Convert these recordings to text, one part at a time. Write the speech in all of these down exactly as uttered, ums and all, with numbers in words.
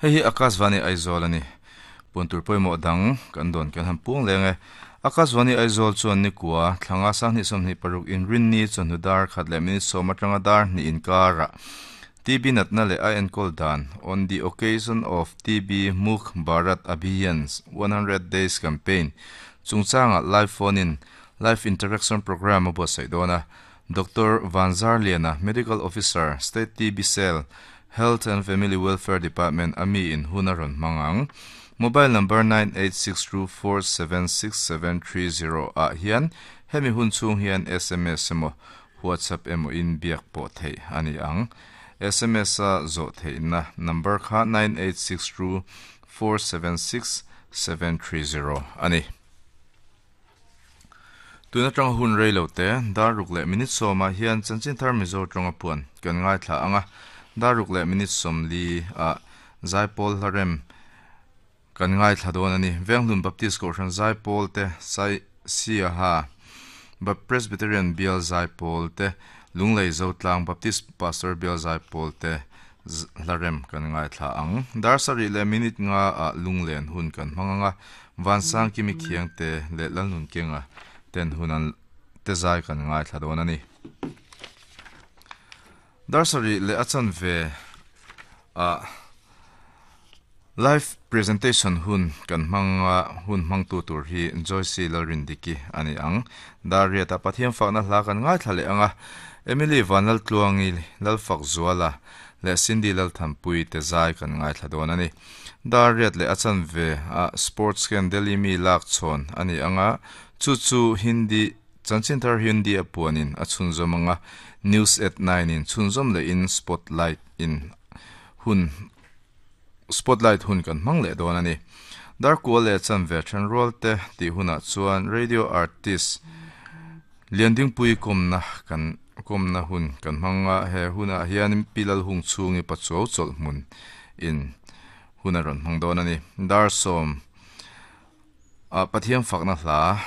Hei hi Akashvani Aizawl ani. Puntur pawimawh dang kan dawn kan han pung leng e. Akashvani Aizawl chuan ni kua thlanga sanghnih sawmhnih paruk inrinni chawhnu dar khat leh minute sawm atanga dar hnih inkara T B natna leh a enkawl dan on the occasion of T B Mukh Bharat Abhiyan's one hundred days campaign chungchanga live phone in live interaction program a buatsaih dawn a. Doctor Vanzar Liana, Medical Officer, State T B Cell, Health and Family Welfare Department ami in hunaron mangang. Mobile number nine eight six two four seven six seven three zero a hian hemi hun chung hian S M S emo WhatsApp emo in biak pawh thei ani ang. S M S a zo thei na number kha nine eight six two four seven six seven three zero ani. Tuna tang hun rei lo te dar ruk leh minute sawma hian chanchin thar Mizo tawnga puan kan ngai thla anga dar ruk leh minute sawm li a Zaipawl hlarem kan ngai thla dawn ani. Venghlun Baptist Kohhran Zaipawl te Sai Siaha Ba Presbyterian Bial Zaipawl te Lunglei Zotlang Baptist Pastor Bial Zaipawl te hlarem kan ngai thla ang. Dar sarih leh minute nga a lunglen hun kan hmanganga Vansang kimi khiang te leh lalnun kenga ten hunan te zai kan ngai thla dawn ani. Dar sarih leh a chan ve a live presentation hun kan hmanga hun hmang tu tur hi Joyce Lalrindiki ani ang. Dar riata Pathian fakna hla kan ngai thla leh anga Emily Vanlal Tluangi Lalfak Zuala leh Cindy Lalthampui te zai kan ngai thla dawn ani. Dar riat leh a chan ve a sports ken Delhi mi lak chhawn ani anga chu chu Hindi chanchin thar Hindi a puanin a chhunzawm anga news at nine in chhunzawm leh in spotlight in hun spotlight hun kan hmang leh dawn ani. Dar kual leh chan ve then rual te tih hunah chuan radio artist Liandingpui kawmna kan kawmna hun kan hmanga he hunah hian pilal hung chhungi pachuau chawlh hmun in hun a rawn hmang dawn ani. Dar sawm a Pathian fakna hla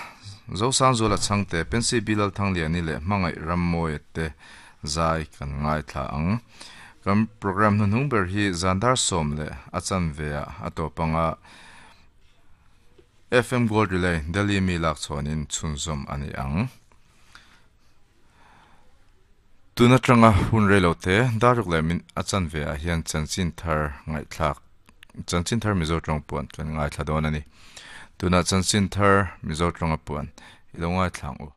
Zosang Zuala changte Pensi Bilal Thangliani leh hmangaih Rammawi te zai kan ngai thla ang. Kan program hnuhnung ber hi zan dar sawm leh a chan ve a a tawpanga F M Gold Relay Delhi mi lak chhawnin chhunzawm ani ang. Tuna tanga hun rei lo te dar ruk leh min a chan ve ah hian chanchin thar ngai thlak chanchin thar Mizo tawng puan kan ngai thla dawn ani. Tuna chanchin thar Mizo tawnga puan ilo ngai thlang u.